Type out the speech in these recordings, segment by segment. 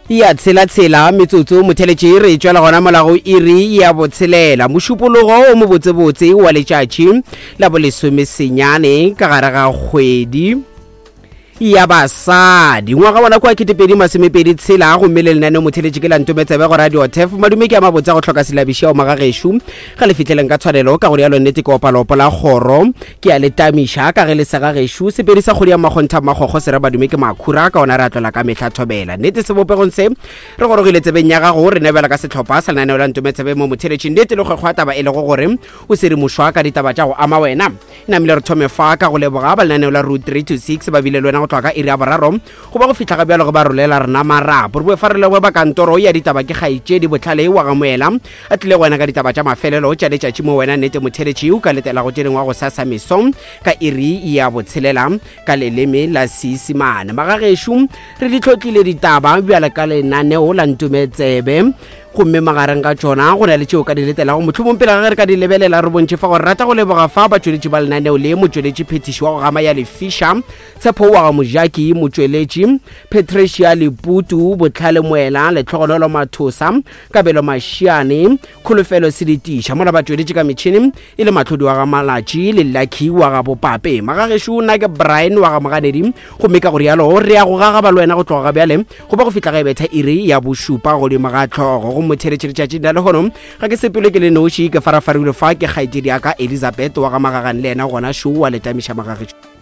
Ya tshela-tshela metsotso motheletši re tšwela gona mola go iri ya botshelela mošupologo o mobotsebotse wa letšatši la bolesomesenyane ka gare ga kgwedi ya basadi ngwaga wona kwa 2020 tshela gomme le lenaneo motheletši ke la ntometsebe go radio tef madume ke a mabotse a go hloka selabiši ao magagešo ga le fihleleng ka tshwanelo ka go rialo nnete ke opalopo la kgoro Ke a le tamiša ka ge le sega gešo sepedi sa kgodi ya makgontha makgokgo se re badume ke makhura ka ona re a tlola ka mehla thobela nnete sebopegong se re gorogile tsebeng ya gago re nebela ka sehlopha sa lenaneo la ntometsebe mo motheletšing nnete le kgwekgwa taba e lego gore o sedimošwa ka ditaba tša go ama wena namile re thome fa ka go leboga ba lenaneo la route 3 to 6 ba bile le wena go tloga ka iri ya boraro go ba go fihla ga bjalo ge ba rolela rena marapo re boe fa re leboge ba kantoro ya ditaba ke kgaetšedi botlhale wa gamoela a tlile go wena ka ditaba tša mafelelo tša letšatši mo wena nnete motheletši o ka letela go tše dingwe go sasa meso ka iri ya botshelela ka leleme la seisimane magagešo re di tlhotlile ditaba bjale ka lenaneo la ntumetsebe gomme magareng ga tšona go na le tšeo ka di letelago mohlomong pele ga ge re ka di lebelela re bontšhe fa gore rata go leboga fa batšweletši ba lenaneo le motšweletši phethiši wa go gama ya lefiša Tshepo wa ga Mojaki, Motšweletši, Patricia Leputu, Bohlale Moela, Lehlogonolo Mathosa, Kabelo Mashiane, Kholofelo Seletiša, mola ba tšweletše ka metšhene e le Mahlodi wa ga Malatši le Lucky wa ga Bopape. Magagešo nna ke Brian wa ga Moganedi, gomme ka go rialo re ya go gagaba le wena go tloga ga bjale go ba go fihla ga e betha iri ya bošupa godimo ga hlogo. Go motheletše letšatšing la lehono ga ke sepele ke le noši, ke farafarilwe fa ke kgaetšedi ya ka Elizabeth wa ga Magagane le yena gona šo wa letamiša magagešo.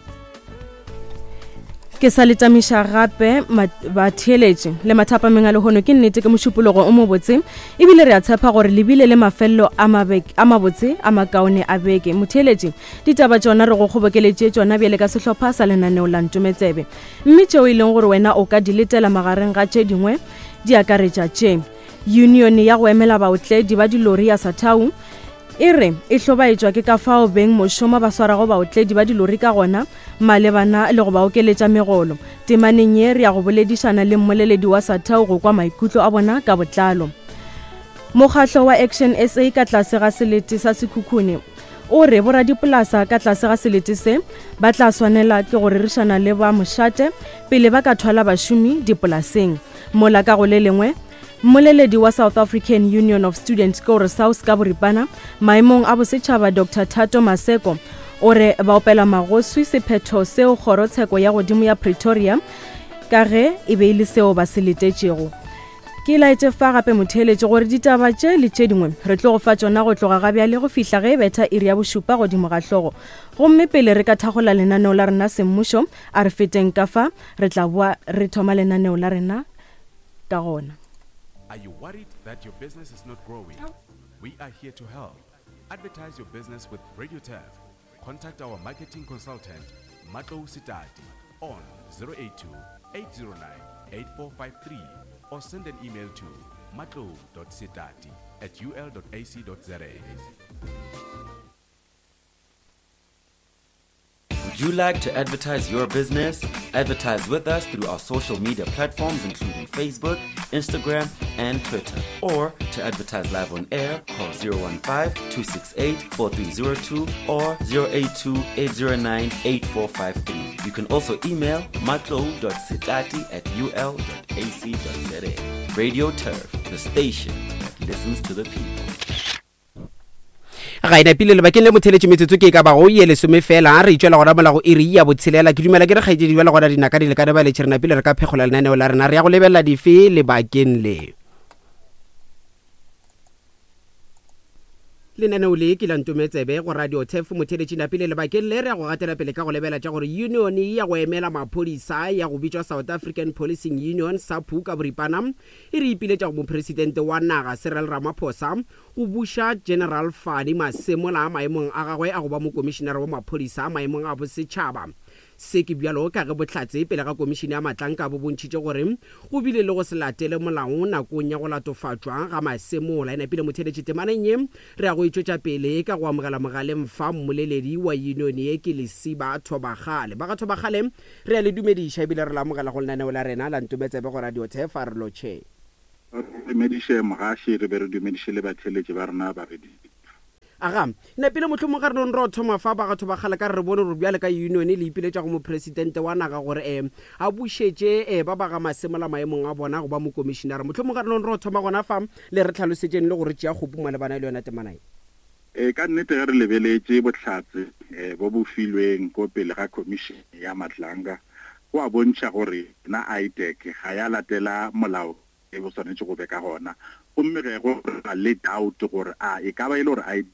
Ke sa le tamiša gape batheeletši le mathapameng a lehono. Ke nnete ke mošupologo o mobotse ebile re a tshepa gore le bile le mafelelo a mabotse a makaone a beke. Motheeletši, ditaba tšona re go kgobokeletše tšona bjale ka sehlopha sa lenaneo la Ntometsebe. Mme tšeo e leng gore wena o ka di letela magareng ga tše dingwe di akaretša tše. Yunione ya go emela baotledi ba dilori ya Satau E re e hlobaetšwa ke ka fao beng mošomo ba swarago baotledi ba dilori ka gona malebana le go ba okeletša megolo. Temaneng ye re ya go boledišana le mmoleledi wa Satau go kwa maikutlo a bona ka botlalo. Mokgahlo wa Action SA ka tlase ga selete sa Sekhukhune o re boradipolasa ka tlase ga selete se ba tla swanela ke go rerišana le ba mošate pele ba ka thwala bašomi dipolaseng. Mola ka go le lengwe Mmoleledi wa South African Union of Students ke gore SAUS ka boripana, maemong a bosetšhaba Doctor Thato Maseko o re ba opela magoswi sephetho seo kgorotsheko ya godimo ya Pretoria ka ge e be e le seo ba se letetšego. Ke laetše fa gape motheeletši gore ditaba tše le tše dingwe re tlo go fa tšona go tloga ga bjale go fihla ge e betha iri ya bošupa godimo ga hlogo. Gomme pele re ka thakgola lenaneo la rena semmušo, a re feteng ka fa re tla boa re thoma lenaneo la rena ka gona. Are you worried that your business is not growing? We are here to help. Advertise your business with Radio Turf. Contact our marketing consultant, Matlou Sitati, on 082 809 8453 or send an email to matlou.sitati at ul.ac.za. Would you like to advertise your business? Advertise with us through our social media platforms including Facebook, Instagram, and Twitter. Or to advertise live on air, call 015-268-4302 or 082-809-8453. You can also email matlo.sitati at ul.ac.za. Radio Turf, the station that listens to the people. Ga e napile lebakeng le motheletše metsotso ke e ka bago ye lesome fela re itšwela gona mola go iri ya botshelela. Ke dumela ke re kgaetšedi bjale gona dinaka di lekane ba letše re napile re ka phekgola lenaneo la rena re ya go lebelela dife lebakeng le. Lenaneo le ke la Ntometsebe go Radio Turf motheletši napile lebakeng le re ya go gatela pele ka go lebela tša gore union ya go emela maphodisa ya go bitšwa South African Policing Union, SAPU, ka boripana e re ipiletša go mopresidente wa naga Cyril Ramaphosa go buša General Fani Masemola maemong a gagwe a go ba mokomišinara wa maphodisa maemong a bosetšhaba. Se ke bjalo ka ge bohlatse pele ga komišene ya matlanka bo bontšhitše gore go bile le go se latele molao nakong ya go latofatšwa ga Masemola. E napile motheeletši temaneng ye re ya go e tšwetša pele ka go amogela mogaleng fa mmoleledi wa yunione ye ke Lesiba Thobakgale. Ba ga Thobakgale re a le dumediša ebile re le amogela go lenaneo la rena la Ntometsebe go Radio Thefa. Re lotšhe. Re dumediše mogaši, re be re dumediše le batheeletši ba rena ba radio. Aga, Nepile mohlomong ga re nong ro thoma fa bagatho ba kgale ka re re bone gore bjale ka union le ipiletša go mopresidente wa naga gore um a bušetše um ba ba ga Masemola maemong a bona go ba mokomišinara. Mohlomong ga re nong ro thoma gona fa le re hlalosetšeng le go re tšea kgopu malebana le yona temana ye. Ee, ka nnete ge re lebeletše bohlatse bo bo filweng ko pele ga Khomišene ya Madlanga go a bontšha gore yona IDAC ga ya latela molao e bo swanetše go be ka gona. Gomme ge go na le doubt gore a e ka ba e le gore IDAC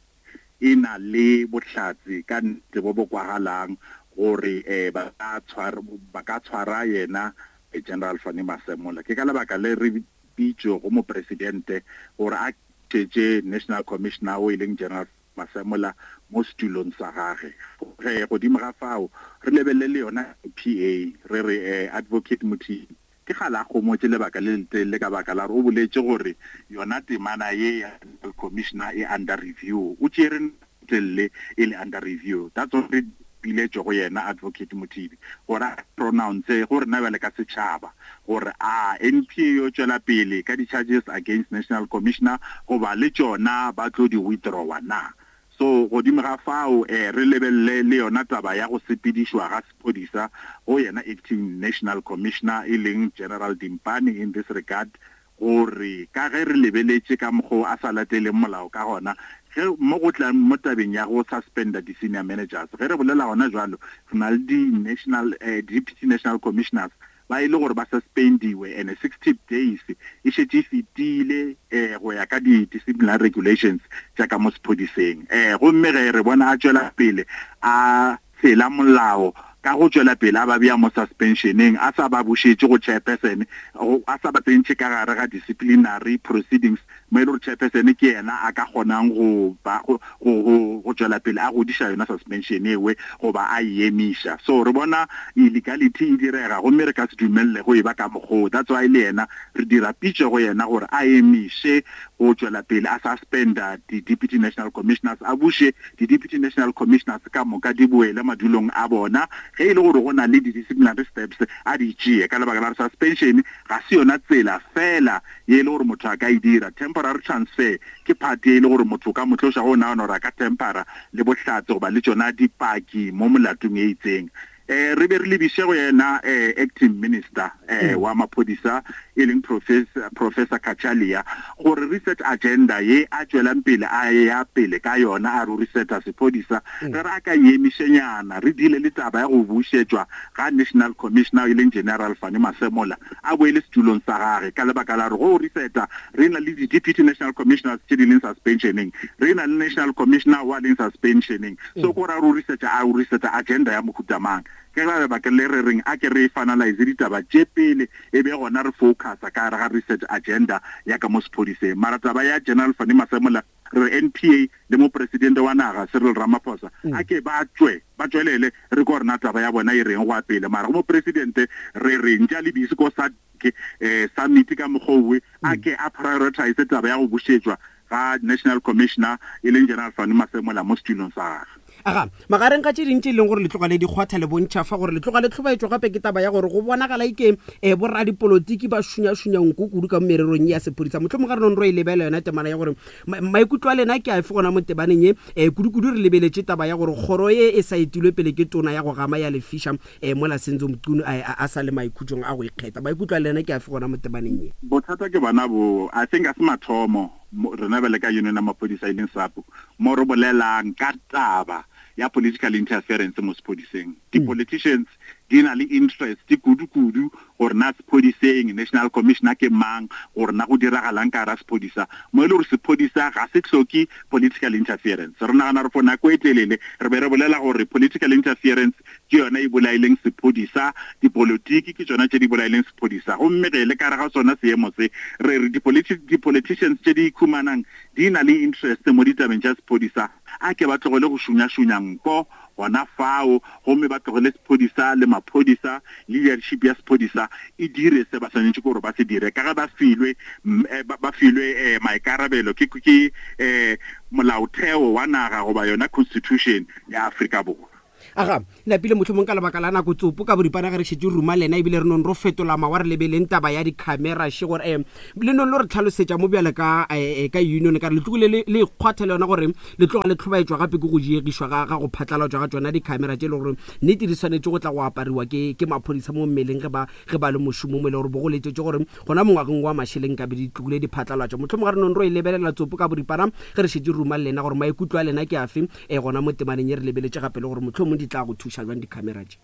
e na le bohlatse ka nnete bo bo kwagalang gore ba ka tshwara, ba ka tshwara yena General Fannie Masemola. Ke ka lebaka le re bitšego Mopresidente gore a tšetše National Commissioner o e leng General Masemola mo setulong sa gage. Ge godimo ga fao re lebelele le yona NPA re re Advocate Mothibi ke kgale a gomotše lebaka le letelele ka baka la gore o boletše gore yona temana ye ya National Commissioner e under review. O tšere nako e telele e le under review. That's why re piletšo go yena Advocate Mothibi gore a pronounce go rena bjale ka setšhaba gore a NPA e yo tšwela pele ka di-charges against National Commissioner goba le tšona ba tlo di withdrawa na. So godimo ga fao re lebelele le yona taba ya go sepedišwa ga sephodisa go yena Acting National Commissioner e leng General Dimpane in this regard gore ka ge re lebeletše ka mokgo a sa lateleng molao ka gona ge mo go tlang mo tabeng ya go suspenda di-senior managers. Ge re bolela gona jwalo re na le di-national, deputy national commissioners ba e le gore ba suspendiwe and 60 days e šetše e fetile go ya ka di-disciplinary regulations tša ka mo sephodiseng. Gomme ge re bona a tšwela pele a tshela molao ka go tšwela pele a ba bea mo suspensioneng, a sa ba bušetše go chairperson, a sa ba tsentšhe ka gare ga disciplinary proceedings mo e le gore chairperson ke yena a ka kgonang go ba, go, go, go, go tšwela pele a godiša yona suspension ewe goba a e emiša. So re bona illegality e direga gomme re ka se dumelele go e ba ka mokgoo. That's why le yena re dira pitšo go yena gore a emiše go tšwela pele a suspenda di-deputy national commissioners, a buše di-deputy national commissioners ka moka di boele madulong a bona. Ge e le gore go na le di-disciplinary steps a di tšee, ka lebaka la gore suspension ga se yona tsela feela ye e le gore motho a ka e dira. Temporary transfer ke part ye e le gore motho o ka mo tloša ge o nagana gore a ka tempera le bohlatse goba le tšona dipaki mo molatong e itseng. Eh, re be re lebiše go yena eh, acting minister eh, mm. wa maphodisa e leng professor, professor Cachalia gore reset agenda ye a tšwelang pele a ya pele ka yona a re reseta sephodisa mm. re re a ka emišenyana re dile le taba ya go bušetšwa ga national commissioner e leng general Fannie Masemola a boele setulong sa gage ka lebaka la gore go reseta re na le di-deputy national commissioners tše di leng suspensioneng re na le national commissioner wa leng suspensioneng So ko ra re o researcha, a o researcha agenda ya mohuta mang? Ke ka lebaka le re reng a ke re finalize ditaba tše pele e be gona re focusa ka gare ga research agenda ya ka mo sephodiseng. Mara taba ya General Fannie Masemola re re NPA le Mopresidente wa naga Cyril Ramaphosa a ke ba tšwe ba tšwelele re kwe gore na taba ya bona e reng go ya pele. Mara go Mopresidente re re ntša le bise ko SADC summit ka mokgwa owe a ke a prioritize taba ya go bušetšwa ga National Commissioner e leng General Fannie Masemola mo setulong sa gagwe. Aga, magareng ga tše ding tše e leng gore le tloga le di kgwatha le bontšha fa gore le tloga le hlobaetšwa gape ke taba ya gore go bonagala eke um boradipolotiki ba šunyašunya nko kudu ka mo mererong ye ya sephodisa. Mohlomong ga re nong ro e lebela yona temana ya gore maikutlo a lena ke afe gona mo tebaneng ye, um kudu-kudu re lebeletše taba ya gore kgoro ye e sa etilwe pele ke tona ya go gama ya lefiša um mola Senzo Mchunu a, a sa le maikhutšong a go ikgetha. Maikutlo a lena ke afe gona mo tebaneng ye? Bothata ke bona bo, I think a se mathomo rena bjale ka union ya maphodisa e leng SAPU mo re bolelang ka taba ya political interference mo sephodiseng. Di-politicians di na le interest kudu-kudu gore na sephodiseng national commissioner ke mang, gore na go diragalang ka gara sephodisa, mo e le gore sephodisa ga se hloke political interference. Re nagana gore for nako e telele re be re bolela gore political interference ke yona e bolaileng sephodisa, dipolotiki ke tšona tše di bolaileng sephodisa. Gomme ge le ka re ga sona seemo se, re re di-politicians tše di ikhumanang di na le interest mo ditabeng tša sephodisa, a ke ba tlogele go šunyašunya nko gona fao, gomme ba tlogele sephodisa le maphodisa, leadership ya sephodisa e dire se ba swanetše gore ba se dire, ka ge ba filwe, ba filwe maikarabelo ke, ke molaotheo wa naga goba yona constitution ya Afrika Borwa. Aga, napile mohlomong ka lebaka la nako tsopo ka boripana ge re šetše ruma lena ebile re nong ro fetola mawa re lebeleng taba ya dikhamera še gore um le nong lo re tlhalosetša mo bjale ka eh, ka union ka re le tlogile le le ikgwatha le yona gore le tloga le tlhobaetšwa gape ke go diegišwa ga ga go phatlalatšwa ga tšona dikhamera tše e le gore nnete di swanetše go tla go apariwa ke ke maphodisa mo mmeleng ge ba ge ba le mošomo mo e le gore bo go letetše gore gona mo ngwageng wa mašeleng ka be di tlogile di phatlalatšwa. Mohlomong ga re nong ro e lebelela tsopo ka boripana ge re šetše ruma le lena gore maikutlo a lena ke afe e gona mo temaneng ye re lebeletše gape le gore mohlomong di tla go thuša bjang dikhamera tše.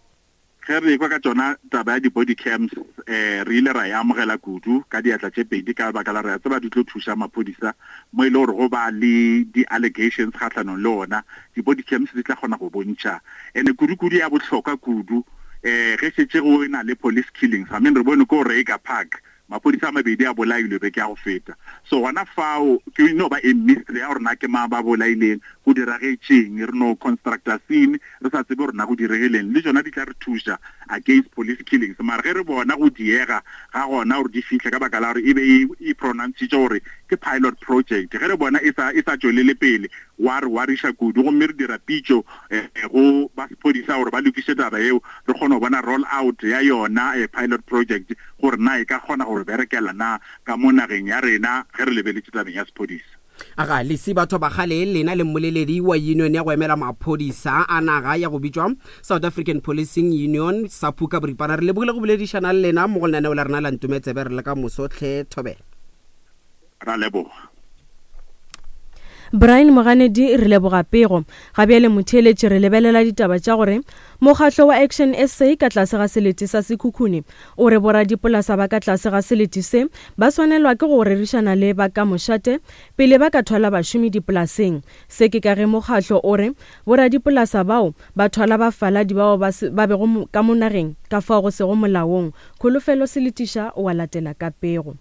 Ge re ekwa ka tšona taba ya di-body cams um re ile ra e amogela kudu ka diatla tše pedi ka lebaka la re a tseba di tlo thuša maphodisa mo e le gore go ba le di-allegations kgahlanong le ona. Di-body cams di tla kgona go bontšha ene kudu-kudu ya bohlokwa kudu um ge šetše go na le police killings. I mean re bone ko Reiger Park Maphodisa a mabedi a bolailwe beke ya go feta. So gona fao ke no ba a mystery ya gore na ke mang ba bolaileng, go diragetšeng. Re no constructa scene re sa tsebe gore na go diregileng. Le tšona di tla re thuša against police killings. Mara ge re bona go diega ga gona gore di fihle ka baka la gore e be e e pronouncitše gore ke pilot project, ge re bona e sa e sa tšwelele pele gwa re wariša kudu. Gomme re dira pitšo go ba sephodisa gore ba lokiše taba yeo re kgone go bona roll out ya yona pilot project gore na e ka kgona go re berekela na ka mo nageng ya rena ge re lebeletše tabeng ya sephodisa. Aga Lesi Batho Bagale, lena le mmoleledi wa union ya go emela maphodisa a naga ya go bitšwa South African Policing Union, SAPU ka boripana, re lebogile go boledišana le lena mo go lenaneo la rena la Ntometsebe re le ka moso hle thobela. Ra leboga. Brian Moganedi re leboga pego. Ga bjale motheeletši re lebelela ditaba tša gore mokgahlo wa Action SA ka tlase ga selete sa Sekhukhune o re boradipolasa ba ka tlase ga selete se ba swanelwa ke go rerišana le ba ka mošate pele ba ka thwala bašomi dipolaseng. Se ke ka ge mokgahlo o re boradipolasa bao ba thwala bafaladi bao ba, ba bego ka mo nageng ka fao go sego molaong. Kholofelo Seletiša o a latela ka pego.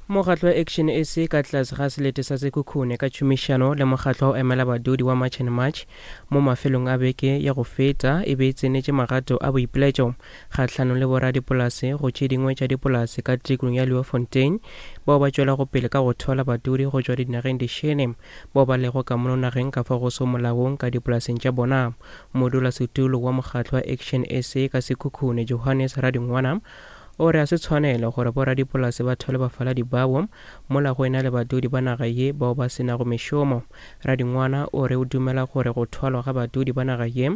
Mokgatlo wa Action SA ka tlase ga selete sa Sekhukhune ka tšhomišano le mokgatlo wa go emela badudi wa March and March mo mafelong a beke ya go feta e be e tsenetše magato a boipiletšo kgahlanong le boradipolase go tše dingwe tša dipolase ka tikolong ya Leeuwfontein bao ba tšwelago pele ka go thwala badudi go tšwa dinageng dišele bao ba lego ka mono nageng ka fao go sego molaong ka dipolaseng tša bona. Modulasetulo wa mokgatlo wa Action SA ka Sekhukhune Johannes Radingwana O re a se tshwanelo gore boradipolase ba thwale bafaladi bao mola go ena le badudi ba naga ye bao ba se nago mešomo. Radingwana o re o dumela gore go thwalwa ga badudi ba naga ye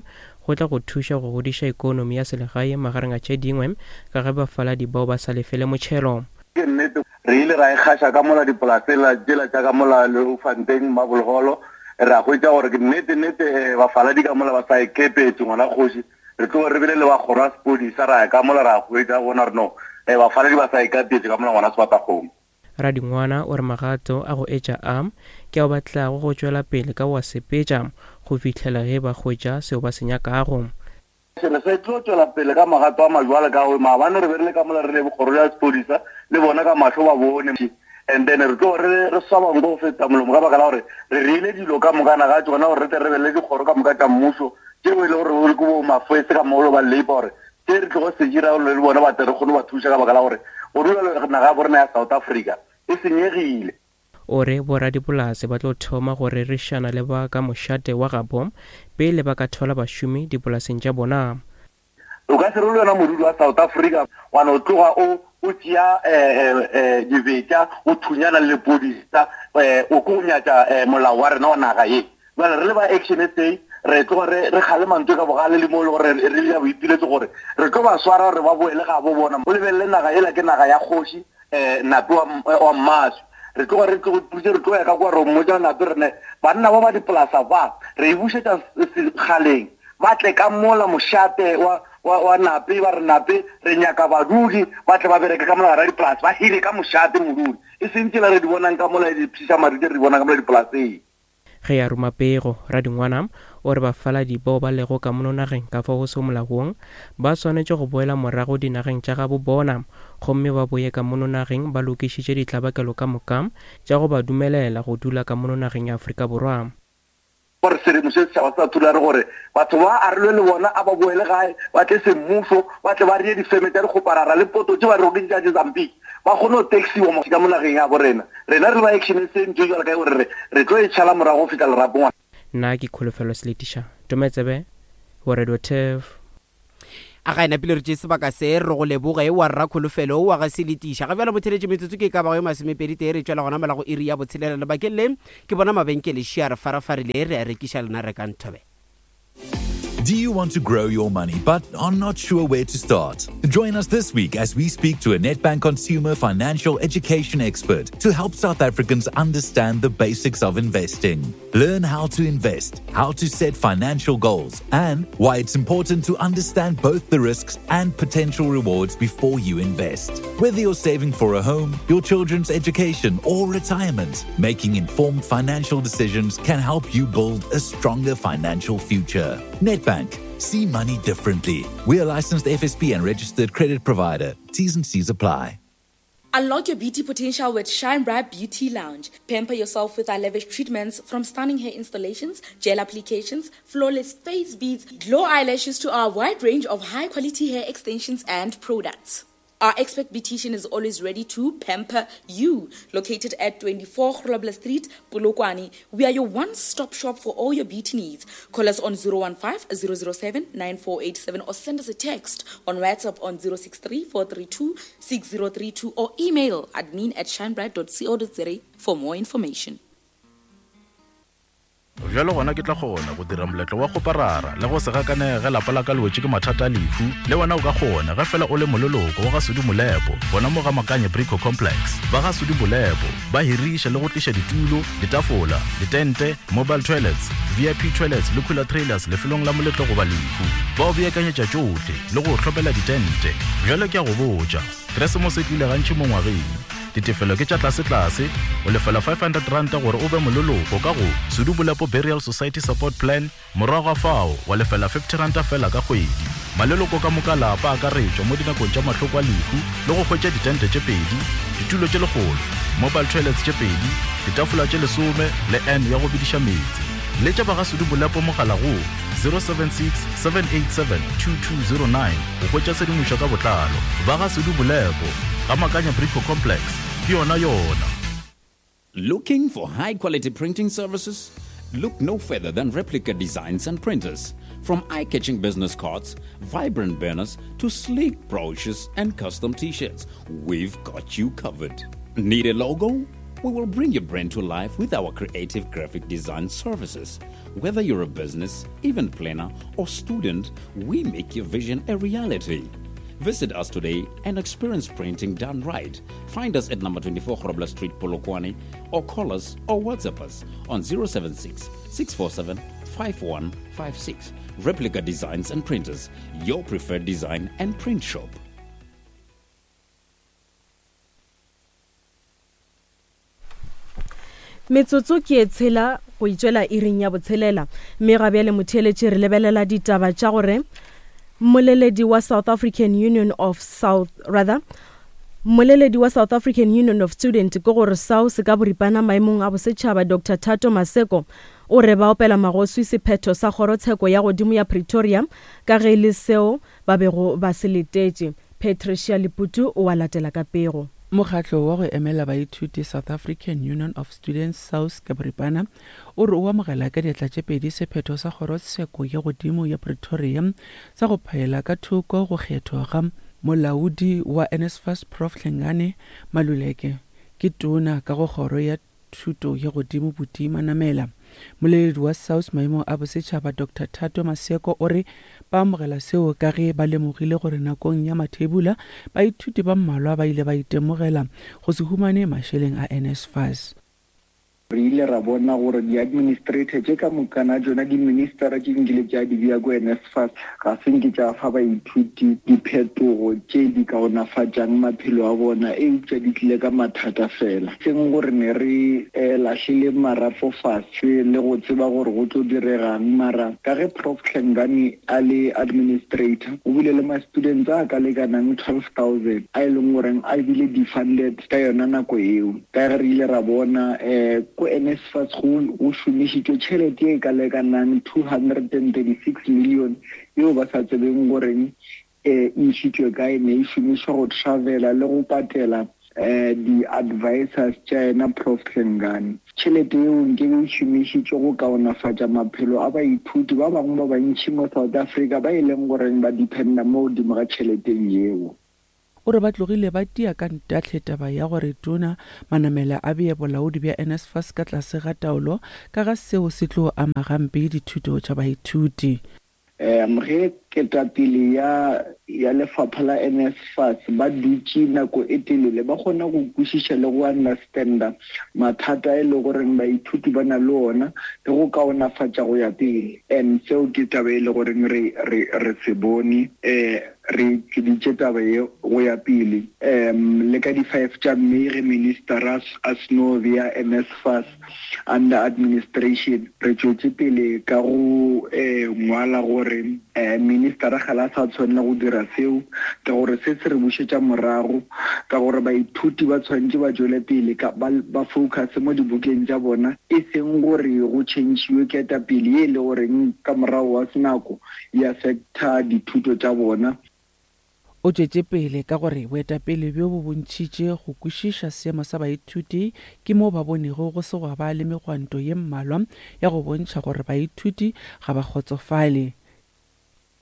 go tla go thuša go godiša ekonomi ya selegae magareng a tše dingwe ka ge bafaladi bao ba sa lefele motšhelo. Ke nnete, re ile ra e gaša ka mola dipolaseng tšela tša ka mola Leeufontein, Marble Hall, ra hwetša gore ke nnete nnete bafaladi ka mola ba sa e kepetše ngwana kgoši. Re tloge re bile le ba kgoro ya sepodisa ra ya ka mola ra hwetša bona re no eh, bafaladi ba sa ikapetše ka mola ngwana sebatakgomo. Radingwana o re magato a go etša a ke ao ba tlago go tšwela pele ka go a sepetša go fihlela ge ba hwetša seo ba se nyakago. Re sa tlo tšwela pele ka magato a majwale ka gore maabane re be re le ka mola re le kgoro ya sepodisa le bona ka mahlo ba bone and then re tlo re re swaba nko go feta molomo ka baka la gore re reile dilo ka moka naga tšona gore re tle re be le dikgoro ka moka tša mmušo tšeo e le gore ke bo mafese ka molo ba labor gore tše re tlogo se dira le bona ba tle re kgone ba thuša ka baka la gore go dula naga ya borena ya South Africa e senyegile. O re boradipolase ba tlo thoma go rerišana le ba ka mošate wa gabo pele ba ka thwala bašomi dipolaseng tša bona. O ka se re le wena modudi wa South Africa wa no tloga o o tšea dibetša o thunyana le lepodisa o ko nyatša molao wa rena wa naga ye. Bjale re le ba Action SA re tloga re re kgalema ntho ka bogale le mo e le gore re dira boipiletso gore re tlo ba swara gore ba boele gabo bona. O lebelele naga yela ke naga ya kgoši Nape wa wa Mmaswi. Re tloga re tlo re tlo ya ka kwa re mmotša Nape re ne banna ba ba dipolasa ba re e bušetša sekgaleng ba tle ka mola mošate wa wa wa Nape ba re Nape re nyaka badudi ba tle ba bereke ka mola gara dipolase ba hire ka mošate modudi e seng tsela re di bonang ka mola dipshiša madi tse re di bonang ka mola dipolaseng. Ge a ruma pego, Radingwana o re bafaladi bao ba lego ka mono nageng ka fao go sego molaong ba swanetše go boela morago dinageng tša gabo bona gomme ba boye ka mono nageng ba lokišitše ditlabakelo ka moka tša go ba dumelela go dula ka mono nageng ya Afrika Borwa. Gore sedimo se setšhaba se sa thulare gore batho ba a re lwe le bona a ba boele gae ba tle semmušo ba tle ba reye difeme tša dikgoparara le poto tše ba rego ke tša Mozambique ba kgone go taxiwa mo ka mo nageng ya bo rena. Rena re ba Action SA ntho e jwalo ka e gore re re tlo e tšhala morago go fihla lerapong. Nna ke Kholofelo Seletiša, Tometsebe, Go Radio Turf. A ga e napile re tšee sebaka se re go leboge wa rra Kholofelo wa ga Seletiša. Ga bjalo motheletše metsotso ke e ka bago ye masomepedi tee re tšwela gona mola go iri ya botshelela. Lebakeng le ke bona mabenkele šia re farafarile re a rekiša lena rekang thobela. Do you want to grow your money but are not sure where to start? Join us this week as we speak to a Nedbank consumer financial education expert to help South Africans understand the basics of investing. Learn how to invest, how to set financial goals, and why it's important to understand both the risks and potential rewards before you invest. Whether you're saving for a home, your children's education, or retirement, making informed financial decisions can help you build a stronger financial future. Nedbank, see money differently. We are licensed FSP and registered credit provider. T's and C's apply. Unlock your beauty potential with Shine Bright Beauty Lounge. Pamper yourself with our lavish treatments from stunning hair installations, gel applications, flawless face beads, glow eyelashes to our wide range of high quality hair extensions and products. Our expert beautician is always ready to pamper you. Located at 24 Grobler Street, Polokwane, we are your one-stop shop for all your beauty needs. Call us on 015 007 9487 or send us a text on WhatsApp on 063 432 6032 or email admin at shinebright.co.za for more information. Bjalo gona ke tla kgona go dira moletlo wa kgoparara le go se gakanege ge lapa la ka le wetše ke mathata a lehu. Le wena o ka kgona ge fela o le moleloko wa ga Sudi Molepo gona mo ga Makanye Brico Complex. Ba ga Sudi Molepo ba hiriša le go tliša ditulo, ditafola, ditente, mobile toilets, VIP toilets le cooler trailers lefelong la moletlo goba lehu. Ba o beakanyetša tšohle le go o hlopela ditente. Bjalo ke a go botša, Keresemose e tlile gantši mo ngwageng. Ditefelo ke tša tlasetlase, o lefela R500 gore o be moleloko ka go Sudu Bolepo Burial Society Support Plan, morago ga fao wa lefela R50 feela ka kgwedi. Maleloko ka moka a lapa a akaretšwa mo dinakong tša mahloko a lehu le go hwetša ditente tše pedi, ditulo tše lekgolo, mobile toilets tše pedi, ditafola tše lesome le urn ya go bediša meetse. Letša ba ga Sudu Bolepo mogala go 076 787 2209 go hwetša tshedimošo ka botlalo. Ba ga Sudu Bolepo, ga Makanya Brico Complex, ke yona yona. Looking for high quality printing services? Look no further than Replica Designs and Printers. From eye catching business cards, vibrant banners, to sleek brochures and custom t shirts, we've got you covered. Need a logo? We will bring your brand to life with our creative graphic design services. Whether you're a business, event planner, or student, we make your vision a reality. Visit us today and experience printing done right. Find us at number 24 Grobler Street, Polokwane, or call us or WhatsApp us on 076 647 5156. Replica Designs and Printers, your preferred design and print shop. Metsotso ke e tshela go itšwela iring ya botshelela, mme ga bjale motheeletši re lebelela ditaba tša gore mmoleledi wa South African Union of South rather Mmoleledi wa South African Union of Student ke gore SAUS ka boripana maemong a bosetšhaba Doctor Thato Maseko o re ba opela magoswi sephetho sa kgorotsheko ya godimo ya Pretoria ka ge e le seo ba bego ba se letetše. Patricia Leputu o a latela ka pego. Mokgatlo wa go emela baithuti South African Union of Students, SAUS, ka boripana, o re o amogela ka diatla tše pedi sephetho sa Kgorotsheko ya Godimo ya Pretoria sa go phaela ka thoko go kgethwa ga molaodi wa NSFAS Prof Hlengani Maluleke ke tona ka go kgoro ya Thuto ya Godimo Buti Manamela. Moleledi wa SAUS maemong a bosetšhaba Doctor Thato Maseko o re ba amogela seo ka ge ba lemogile gore nakong ya mathebula baithuti ba mmalwa ba ile ba itemogela go se humane mašeleng a NSFAS. Re ile ra bona gore di-administrator tše ka mokana tšona, di-ministera tše nkile tša di bea ko NSFAS ga se nke tša fa baithuti diphetogo tše di kaonafatšang maphelo a bona, eupša di tlile ka mathata fela. Seng gore ne re lahlile marapo fase le go tseba gore go tlo diregang, mara ka ge Prof Hlengani a le administrator, o bile le ma-students a ka lekanang 12,000 a e leng goreng a bile defunded ka yona nako eo. Ka ge re ile ra bona, ko NSFAS go go šomišitšwe tšhelete ye e ka lekanang 236 million yeo ba sa tsebeng goreng e išitšwe kae, ne e šomišwa go travela le go patela. um di-advisors tša yena Prof Hlengani. Tšhelete yeo nkebe e šomišitšwe go kaonafatša maphelo a baithuti ba bangwe ba bantši mo South Africa ba e leng goreng ba dependa mo godimo ga tšheleteng yeo. O re ba tlogile ba tia ka ntahle taba ya gore Tona Manamela a bee bolaodi bja NSFAS ka tlase ga taolo ka ga seo se tlo ama gampe dithuto tša baithuti. Um ge ketapele ya ya lefapha la NSFAS ba dutše nako e telele ba kgona go kwešiša le go understanda mathata e le goreng baithuti ba na le ona le go kaonafatša go ya pele. And seo ke taba e le goreng re re re se bone um re tšweditše taba ye go ya pele um le ka di five tša May ge minister a seno bea NSFAS Under administration, re tšwetše pele ka go ngwala gore ministara ga la sa tshwanela go dira seo ka gore se se re bušetša morago ka gore baithuti ba tshwanetše ba tšwele pele ka ba, ba focus mo dibukeng tša bona e seng gore go tšhentšhiwe ketapele ye e le goreng ka morago wa senako e affecta dithuto tša bona. O tšwetše pele ka gore boetapele bjo bo bontšhitše go kwešiša seemo sa baithuti ke moo ba bonego go se gwa ba le megwanto ye mmalwa ya go bontšha gore baithuti ga ba kgotsofale.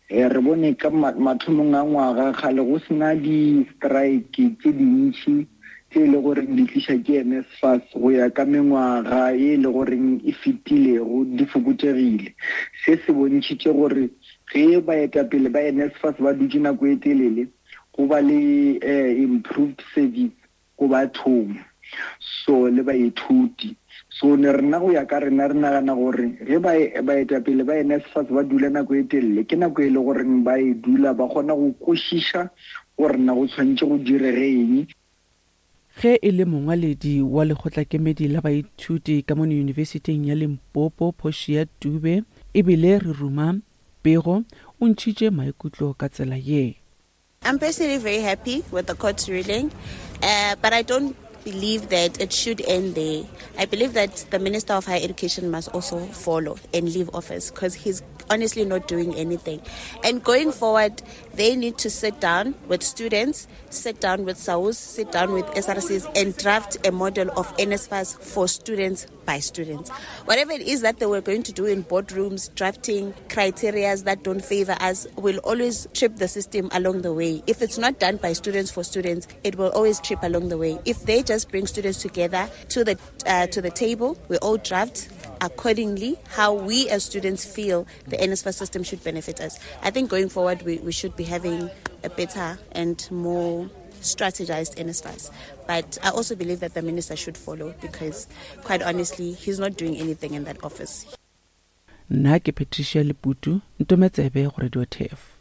Re bone ka mathomong a ngwaga kgale go se na di-strike tše dintši tše e le goreng di tliša ke NSFAS go ya ka mengwaga ye e le goreng e fetilego di fokotšegile. Se se bontšhitše gore Ge baetapele ba NSFAS ba dutše nako e telele, go ba le improved service go bathong so le baithuti. So ne rena go ya ka rena re nagana gore ge baetapele ba NSFAS ba dula nako e telele, ke nako e le goreng ba e dula ba kgona go kwešiša gore na go tshwanetše go direge eng. Ge e le mongwaledi wa lekgotlakemedi la baithuti ka mono Yunibesithing ya Limpopo, Portia Dube, e bile re ruma pego, o ntšhitše maikutlo ka tsela ye. I'm personally very happy with the court's ruling, uh, but I don't believe that it should end there. I believe that the Minister of Higher Education must also follow and leave office because he's honestly not doing anything. And going forward, they need to sit down with students, sit down with SAUS, sit down with SRCs, and draft a model of NSFAS for students by students. Whatever it is that they were going to do in boardrooms, drafting criteria that don't favor us, will always trip the system along the way. If it's not done by students for students, it will always trip along the way. If they just bring students together to the uh, to the table, we all draft accordingly how we as students feel the NSFAS system should benefit us. I think going forward, we, we should be having a better and more strategized NSFAS. But I also believe that the minister should follow because, quite honestly, he's not doing anything in that office. Nna ke Patricia Leputu, ntome tsebe go Radio Turf.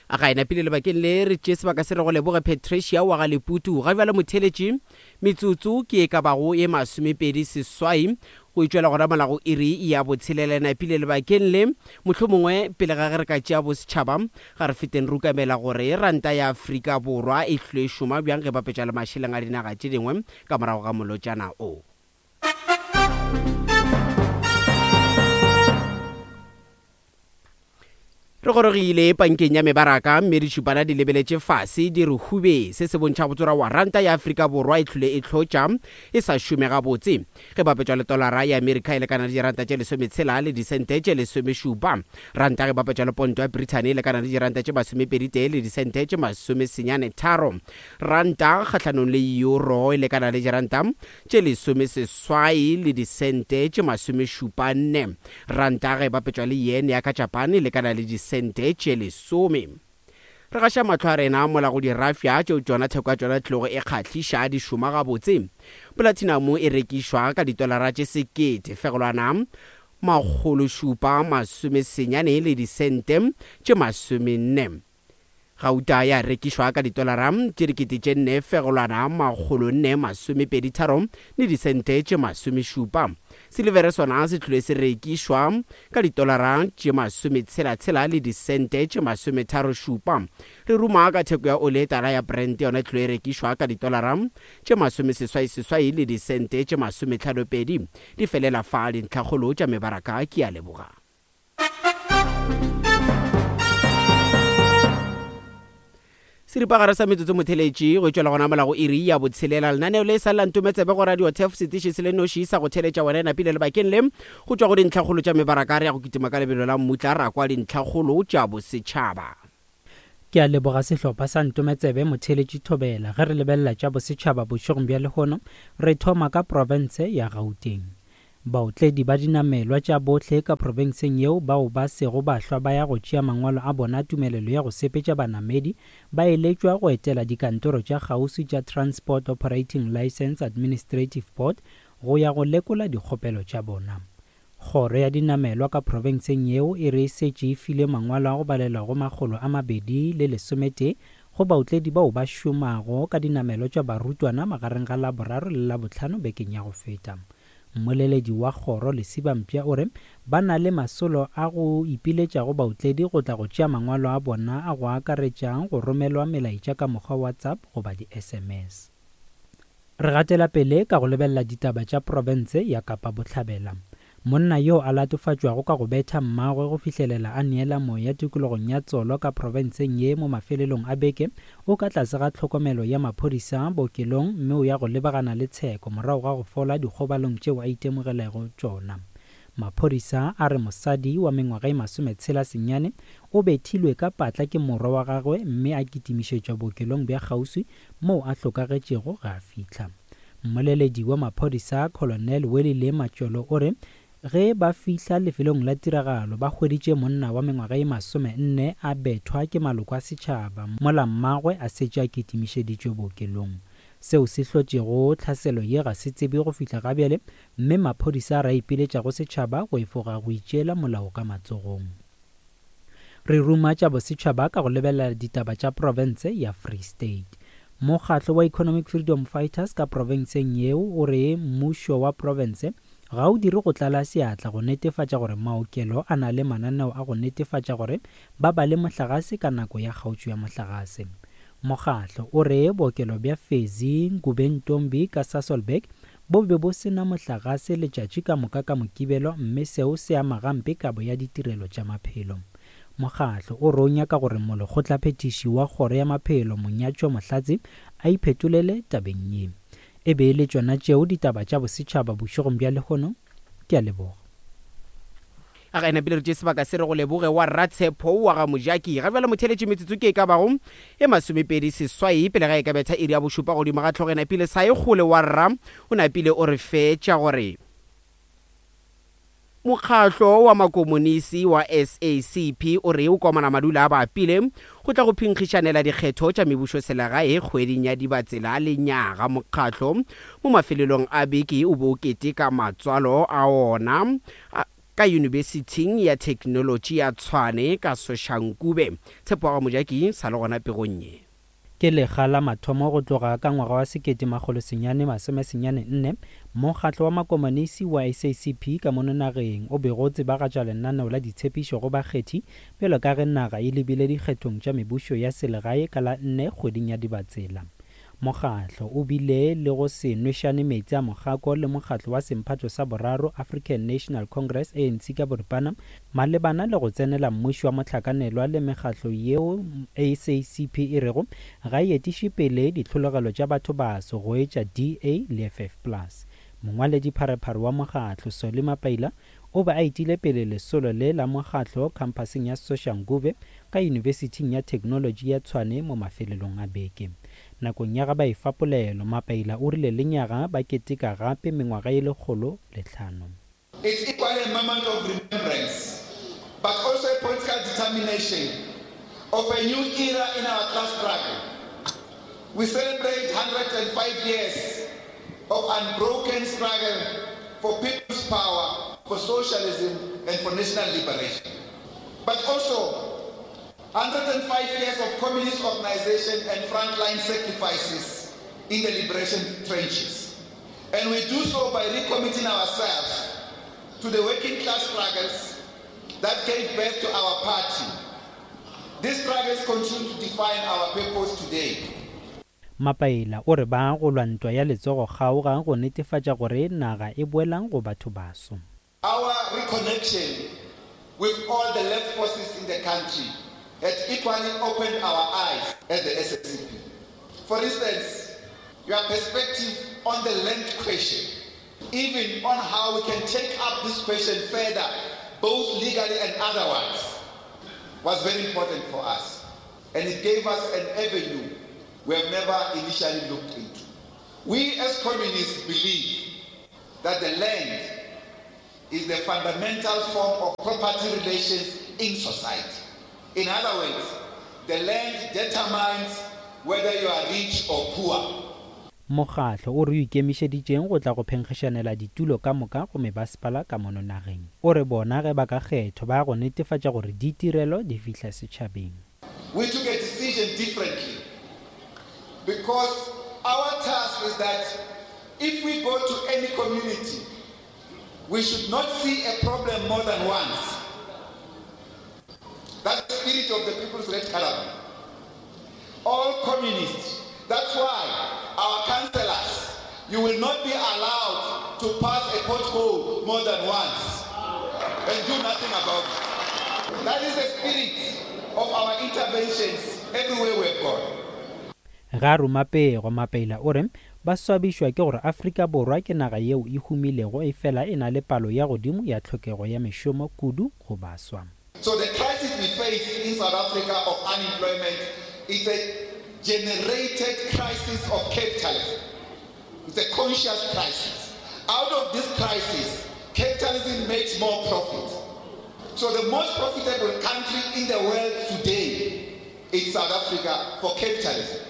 A ga e napile lebakeng le re tšee sebaka se re go leboge Patricia wa ga Leputu. Ga bjale motheletši, metsotso ke e ka bago ye masomepedi seswai go itšwela gona mola go iri ya botshelela. E napile lebakeng le, mohlomongwe pele ga ge re ka tšea bosetšhaba, ga re feteng re ukamela gore ranta ya Afrika Borwa e hlile e šoma bjang ge bapetša le mašeleng a dinaga tše dingwe ka morago ga molotšana o. Re gorogile pankeng ya mebaraka mme ditšhupana di lebeletše fase di re hube. Se se bontšha go tsora wa ranta ya Afrika Borwa e hlwile e hlotša e sa šome gabotse. Ge bapetšwa le tolara ya Amerika e lekana le diranta tše lesometshela le disente tše lesomešupa. Ranta ge bapetšwa le ponto ya Brithani e lekana le diranta tše masomepeditee le disente tše masomesenyane tharo. Ranta kgahlanong le euro e lekana le diranta tše lesomeseswai le disente tše masomešupa-nne. Ranta ge e bapetšwa le yen ya ka Japan e lekana le disente tše lesome. Re gaša mahlo a rena mola go dirafša tšeo tšona theko ya tšona tlogo e kgahliša di šoma gabotse. Polatinamo e rekišwa ka ditolara tše sekete fegelwana makgološupa masomesenyane le disente tše masomenne. Gauta ya rekišwa ka ditolara tše dikete tše nne fegelwana makgolonne masomepeditharo le disente tše masomešupa. Silivere sona se hlile se rekišwa ka ditolara tše masometshela-tshela le disente tše masometharo-šupa. Re ruma ka theko ya oli e tala ya Brent yona e hlile e rekišwa ka ditolara tše masomeseswai-seswai le disente tše masometlhano-pedi. Di felela fa dintlhakgolo tša mebaraka. Ke a leboga. Seripagare sa metsotso motheletši go tšwela gona mola go iri ya botshelela. Lenaneo le sa lla ntometsebe go Radio Turf setiši se le noši sa go theletša wena e napile lebakeng le go tšwa go dintlhakgolo tša mebaraka re ya go kitima ka lebelo la mmutla ra kwa dintlhakgolo tša bosetšhaba. Ke a leboga sehlopha sa Ntometsebe Motheletši Thobela. Ge re lebelela tša bosetšhaba bošegong bja lehono, re thoma ka profense ya Gauteng. Baotledi ba dinamelwa tša bohle ka profenseng yeo bao ba sego ba hlwa ba ya go tšea mangwalo a bona a tumelelo ya go sepetša banamedi ba eletšwa go etela dikantoro tša kgauswi tša Transport Operating Licence Administrative Board go ya go lekola dikgopelo tša bona. Kgoro ya dinamelwa ka profenseng yeo e re e setše e file mangwalo a go balelwa go 211 go baotledi bao ba šomago ka dinamelo tša barutwana magareng ga Laboraro le Labohlano bekeng ya go feta. Mmoleledi wa kgoro Lesiba Mpša o re ba na le masolo a go ipiletša go baotledi go tla go tšea mangwalo a bona a go akaretša go romelwa melaetša ka mokgwa WhatsApp goba di-SMS. Re gatela pele ka go lebelela ditaba tša profense ya Kapa Bohlabela. Monna yo a latofatšwago ka go betha mmagwe go fihlelela a neela moya tikologong ya Tsolo ka profenseng ye mo mafelelong a beke o ka tlase ga tlhokomelo ya maphodisa bookelong mme o ya go lebagana le tsheko morago ga go fola dikgobalong tšeo a itemogelego tšona. Maphodisa a re mosadi wa mengwaga e masometshela senyane o bethilwe ka patla ke morwa wa gagwe mme a kitimišetšwa bookelong bja kgauswi moo a hlokagetšego ge a fihla. Mmoleledi wa maphodisa Colonel Welile Matšolo o re ge ba fihla lefelong la tiragalo ba hweditše monna wa mengwaga ye 40 a bethwa ke maloko a setšhaba mola mmagwe a setše a kitimišeditšwe bookelong. Seo se hlotšego tlhaselo ye ga se tsebje go fihla gabjale mme maphodisa a re a ipiletša go setšhaba go efoga go itšeela molao ka matsogong. Re ruma tša bosetšhaba ka go lebelela ditaba tša profense ya Free State. Mokgatlo wa Economic Freedom Fighters ka profenseng yeo o re mmušo wa profense ga o dire go tlala seatla go netefatša gore maokelo a na le mananeo a go netefatša gore ba ba le mohlagase ka nako ya kgaotšo ya mohlagase. Mokgatlo o re bookelo bja Fezi Ngubentombi ka Sasolburg Bo be bo se na mohlagase letšatši ka moka ka Mokibelo mme seo se ama gampe kabo ya ditirelo tša maphelo. Mokgatlo o re o nyaka gore molekgotlaphethiši wa Kgoro ya Maphelo Monyatšo Mohlatse a iphetolele tabeng ye. E be e le tšona tšeo ditaba tša bosetšhaba bošegong bja lehono. Ke a leboga. A ga e napile re tšee sebaka se re go leboge wa Rratshepo wa ga Mojaki. Ga bjale motheeletši metsotso ke e ka bago e masomepedi seswai pele ga e ka betha iri ya bošupa godimo ga hlogo e napile sa e kgole wa rra o napile o re fetša gore Mokgahlo wa Makomonisi wa SACP o re o komana madula a bapile go tla go phenkgišanela dikgetho tša mebušoselegae kgweding ya Dibatsela lenyaga. Mokgahlo mo mafelelong a beke o be o keteka matswalo a ona Ka Yunibesithing ya Theknolotši ya Tshwane ka Soshanguve. Tshepo wa ga Mojaki sa le gona pegong ye. Ke lekga la mathomo go tloga ka ngwaga wa 1994 mokgatlo wa makomonisi wa SACP ka mono nageng o bego o tsebagatša lenaneo la ditshepišo go bakgethi bjalo ka ge naga e lebile dikgethong tša mebušo ya selegae ka la nne kgweding ya Dibatsela. Mokgatlo o bile le go se nwešane meetse a mokgako le mokgatlo wa semphato sa boraro, African National Congress, ANC ka boripana, malebana le go tsenela mmušo wa mohlakanelwa le mekgatlo yeo SACP e rego ga e etiše pele ditlhologelo tša bathobaso go etša DA le FF Plus. Mongwaledipharephare wa mokgatlo, Solly Mapaila, o be a etile pele lesolo le la mokgatlo khamphaseng ya Soshanguve ka Yunibesithing ya Theknolotši ya Tshwane mo mafelelong a beke. Nakong ya ga ba efa polelo, Mapaila o rile lenyaga ba keteka gape mengwaga ye 105. It's equally a moment of remembrance, but also a political determination of a new era in our class struggle. We celebrate 105 years of unbroken struggle for people's power, for socialism, and for national liberation. But also 105 years of communist organization and frontline sacrifices in the liberation trenches. And we do so by recommitting ourselves to the working class struggles that gave birth to our party. These struggles continue to define our purpose today. Mapaila o re ba go lwa ntwa ya letsogo kgaoga go netefatša gore naga e boela go batho baso. Our reconnection with all the left forces in the country. had equally opened our eyes as the SACP. For instance, your perspective on the land question, even on how we can take up this question further, both legally and otherwise, was very important for us. And it gave us an avenue we have never initially looked into. We as communists believe that the land is the fundamental form of property relations in society. In other words, the land determines whether you are rich or poor. Mokgatlo o re o ikemišeditšeng go tla go phenkgišanela ditulo ka moka go mebasepala ka mono nageng. O re bona ge ba ka kgethwa ba ya go netefatša gore ditirelo di fihla setšhabeng. We took a decision differently because our task is that if we go to any community, we should not see a problem more than once. That's the spirit of the People's Red Caravan. All communists. That's why our councillors, you will not be allowed to pass a pothole more than once and do nothing about it. That is the spirit of our interventions everywhere we've gone. Ge a ruma pego, Mapeila o re ba swabišwa ke gore Afrika Borwa ke naga yeo e humilego efela e na le palo ya godimo ya tlhokego ya mešomo kudu go baswa. So the crisis we face in South Africa of unemployment is a generated crisis of capitalism. It's a conscious crisis. Out of this crisis, capitalism makes more profit. So the most profitable country in the world today is South Africa for capitalism.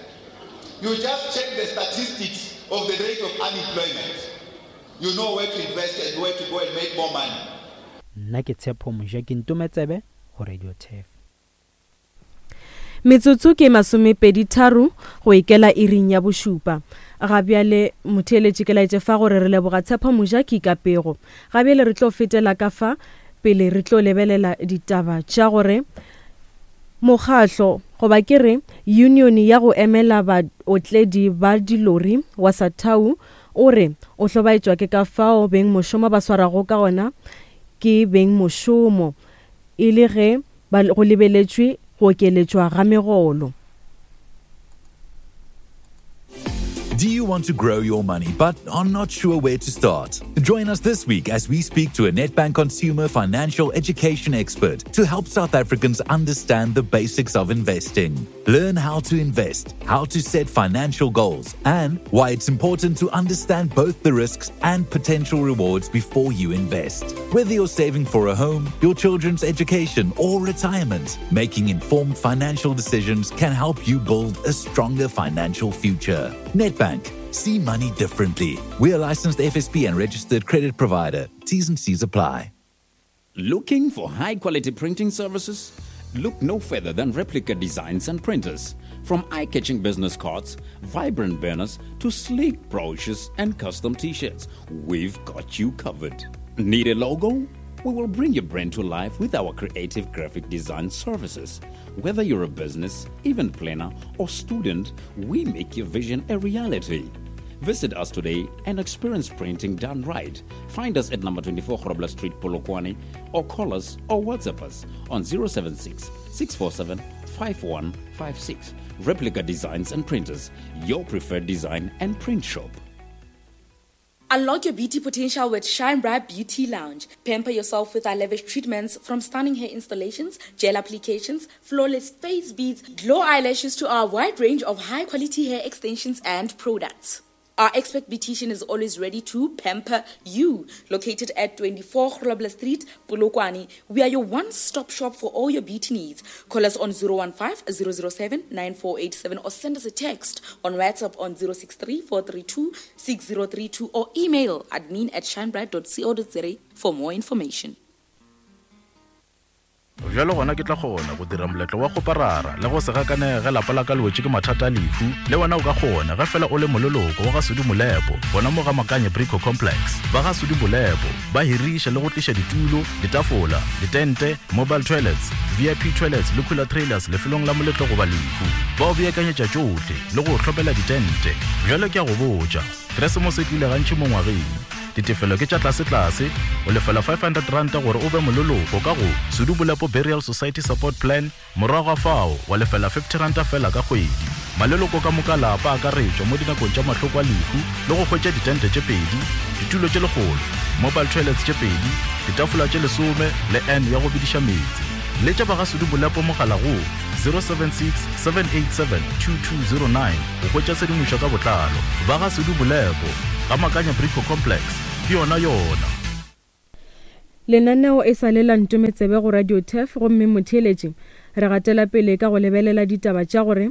You just check the statistics of the rate of unemployment. You know where to invest and where to go and make more money. Nna ke Tshepo Moja ke Ntometsebe go Radio Turf. Metsotso ke masomepeditharo go ikela iring ya bošupa. Ga bjale motheeletši ke laetše fa gore re leboga Tshepo Mojaki ka pego. Ga bjale re tlo fetela ka fa pele re tlo lebelela ditaba tša gore mokgahlo goba ke re union ya go emela baotledi ba dilori wa Satau O re o hlobaetšwa ke ka fao bengmošomo ba swarago ka gona ke bengmošomo e le ge ba go lebeletšwe go okeletšwa ga megolo. Do you want to grow your money but are not sure where to start? Join us this week as we speak to a Nedbank consumer financial education expert to help South Africans understand the basics of investing. Learn how to invest, how to set financial goals, and why it's important to understand both the risks and potential rewards before you invest. Whether you're saving for a home, your children's education, or retirement, making informed financial decisions can help you build a stronger financial future. Nedbank. See money differently. We are licensed FSP and registered credit provider. T's and C's apply. Looking for high quality printing services? Look no further than Replica Designs and Printers. From eye catching business cards, vibrant banners, to sleek brochures and custom t shirts, we've got you covered. Need a logo? We will bring your brand to life with our creative graphic design services. Whether you're a business, event planner, or student, we make your vision a reality. Visit us today and experience printing done right. Find us at number 24 Grobler Street, Polokwane, or call us or WhatsApp us on 076 647 5156. Replica Designs and Printers, your preferred design and print shop. Unlock your beauty potential with Shine Bright Beauty Lounge. Pamper yourself with our lavish treatments from stunning hair installations, gel applications, flawless face beads, glow eyelashes to our wide range of high quality hair extensions and products. Our expert beautician is always ready to pamper you. Located at 24 Grobler Street, Polokwane, we are your one-stop shop for all your beauty needs. Call us on 015 007 9487 or send us a text on WhatsApp on 063 432 6032 or email admin at shinebright.co.za for more information. Bjalo gona ke tla kgona go dira moletlo wa kgoparara le go se gakanege ge lapa la ka le wetše ke mathata a lehu. Le wena o ka kgona ge fela o le moleloko wa ga Sudi Molepo gona mo ga Makanye Brico Complex. Ba ga Sudi Molepo ba hiriša le go tliša ditulo, ditafola, ditente, mobile toilets, VIP toilets le cooler trailers lefelong la moletlo goba lehu. Ba o beakanyetša tšohle le go o hlomela ditente. Bjalo ke a go botša, Keresemose e tlile gantši mo ngwageng. Ditefelo ke tša tlasetlase, o lefela R500 gore o be moleloko ka go Sedubolepo Burial Society Support Plan, morago ga fao wa lefela R50 feela ka kgwedi. Maleloko ka moka a lapa a akaretšwa mo dinakong tša mahloko a lehu le go hwetša ditente tše pedi, ditulo tše lekgolo, mobile toilets tše pedi, ditafola tše lesome le urn ya go bediša meetse. Letša ba ga Sedubolepo mogala go 076 787 2209 go hwetša tshedimošo ka botlalo. Ba ga Sedubolepo, ga Makanya Brico Complex, ke yona yona. Lenaneo e sa le la Ntometsebe go Radio Turf gomme motheeletši re gatela pele ka go lebelela ditaba tša gore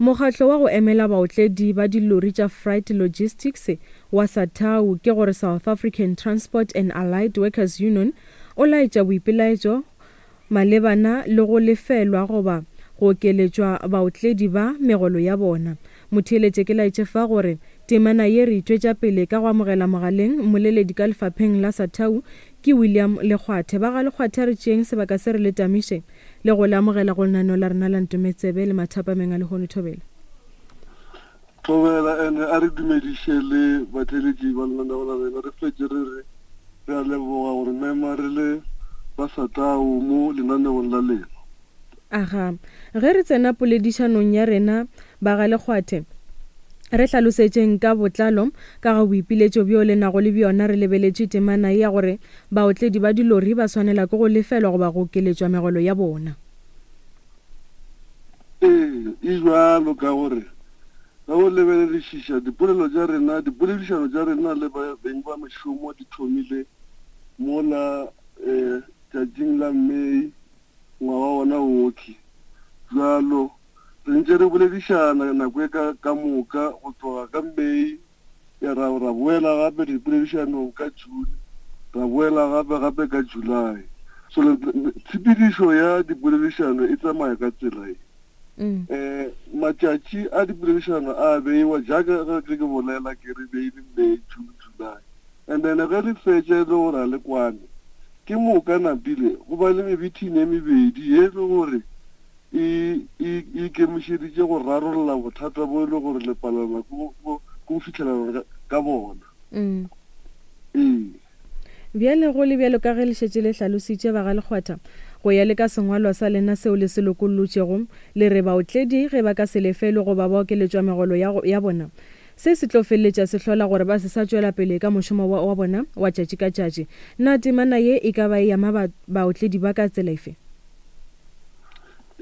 mokgatlo wa go emela baotledi ba dilori tša Freight Logistics wa SATAWU ke gore South African Transport and Allied Workers Union o laetša boipelaetšo malebana le go lefelwa goba go okeletšwa baotledi ba megolo ya bona. Motheeletše ke laetše fa gore temana ye re e tšwetša pele ka go amogela mogaleng mmoleledi ka lefapheng la SATAWU ke William Lekgwathe. Ba ga Lekgwathe a re tšeeng sebaka se re le tamiše le go le amogela go lenaneo la rena la Ntometsebe le mathapameng a lehono. Thobela. Thobela ene a re dumediše le batheeletši ba lenaneo la rena. Re fetše re re re a leboga gore mema re le ba SATAWU mo lenaneong la lena. Aga, ge re tsena poledišanong ya rena ba ga Lekgwathe, re hlalosetšeng ka botlalo ka ga boipiletšo bjo le nago le bjona re lebeletše temana ye ya gore baotledi ba dilori ba swanela ke go lefelwa goba go okeletšwa megolo ya bona. Ee, e bjalo ka gore ge o lebeledišiša dipolelo tša rena, dipoledišano tša rena le beng ba mešomo di thomile mola um tšatšing la May ngwaga wona wokhwi. Bjalo re ntše re boledišana nako e ka ka moka go tloga ka May Ya ra, ra boela gape dipoledišanong ka June, ra boela gape gape ka July. So tshepedišo ya dipoledišano e tsamaya ka tsela ye. Um matšatši a dipoledišano a beiwa jaaka ge ke bolela ke re beile May, June, July. And then ge le fetša e le gore a le kwane, ke moka napile go ba le mebithini e mebedi ye e le gore e, e, e ikemišeditše go rarolla bothata bo e le gore le palelwa ke go, go fihlelana ka bona. Mm. Ee. Bjale go le bjalo ka ge le šetše le hlalositše ba ga Lekgwatha, go ya le ka sengwalwa sa lena seo le se lokollotšego, le re baotledi ge ba ka se lefelwe goba ba okeletšwa megolo ya, ya bona, se se tlo feleletša se hlola gore ba se sa tšwela pele ka mošomo wa, wa bona wa tšatši ka tšatši. Na temana ye e ka ba e ama ba, baotledi ba ka tsela efe?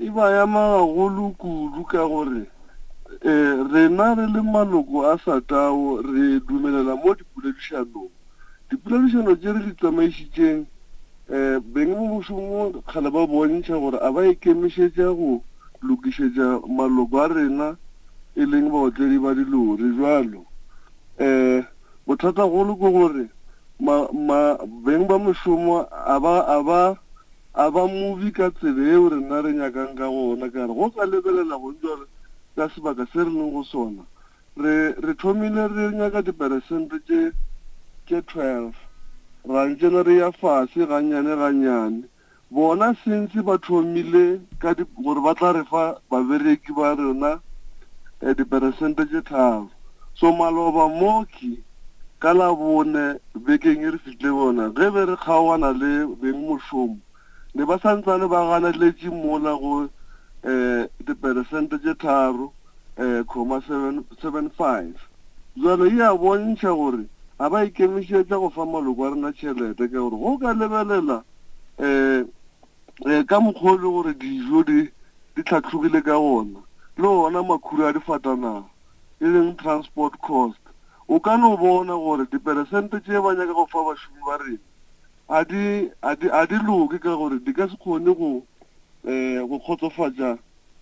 E ba ama gagolo kudu ka gore rena re le maloko a SATAWU re dumelela mo dipoledišanong. Dipoledišano tše re di tsamaišitšeng, beng ba mošomo kgale ba bontšha gore a ba ikemišetša go lokišetša maloko a rena e leng baotledi ba dilori. Bjalo bothatagolo ke gore ma, ma, beng ba mošomo a ba, a ba A ba mobi ka tsela yeo rena re nyakang ka gona. Ka re, Go ka lebelela gong bjale ka sebaka se re leng go sona, re, re thomile re nyaka diperesente tše, tše 12, ra ntšena re ya fase gannyane gannyane. Bona since ba thomile ka di, gore ba tla re fa babereki ba rena eh, diperesente tše tharo. So maloba mooki Ka Labone bekeng e re fihlilego yona, ge be re kgaogana le bengmošomo, ne ba sa ntsane ba ganeletše mola go um diperesente tše tharo um comma 7, 75. Bjalo e a bontšha gore ga ba ikemišetša go fa maloko a rena tšhelete ka gore go ka lebelela um ka mokgwa o le gore dijo di di hlatlogile ka gona le ona makhura a difatanaga e leng transport cost, o ka no bona gore diperesente tše ba nyaka go fa bašomi ba rena a di, a di, a di loke ka gore di ka se kgone go, um go kgotsofatša